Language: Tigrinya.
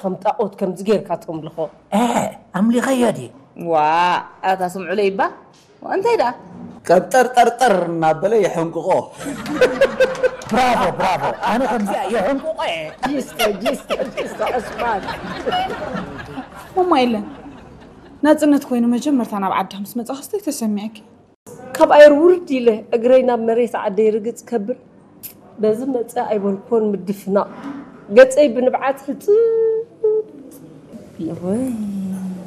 ከም ጣኦት ከምዚ ጌርካ ተምልኾ። ኣምሊኸዮ ድየ? ዋ ኣታ ስምዑለይ እባ እንታይ ደኣ ቀብጠርጠርጠር እናበለ የሐንቅቆ። ብራቮ ብራቮ፣ ኣነ ከምዚኣ የሐንቅቆ እየ። ጂስተ ጂስተ ጂስተ ዕስማን ማማ የለን ናፅነት ኮይኑ መጀመርታ ናብ ዓዳ ምስ መፃ ክስተይ ተሰሚዐኪ? ካብ ኣየር ውርድ ኢለ እግረይ ናብ መሬት ዓደይ ርግፅ ከብል በዚ መፀ ኣይበልኮን ምድፍናቕ ገፀይ ብንብዓት ሕፅብ ኢለ።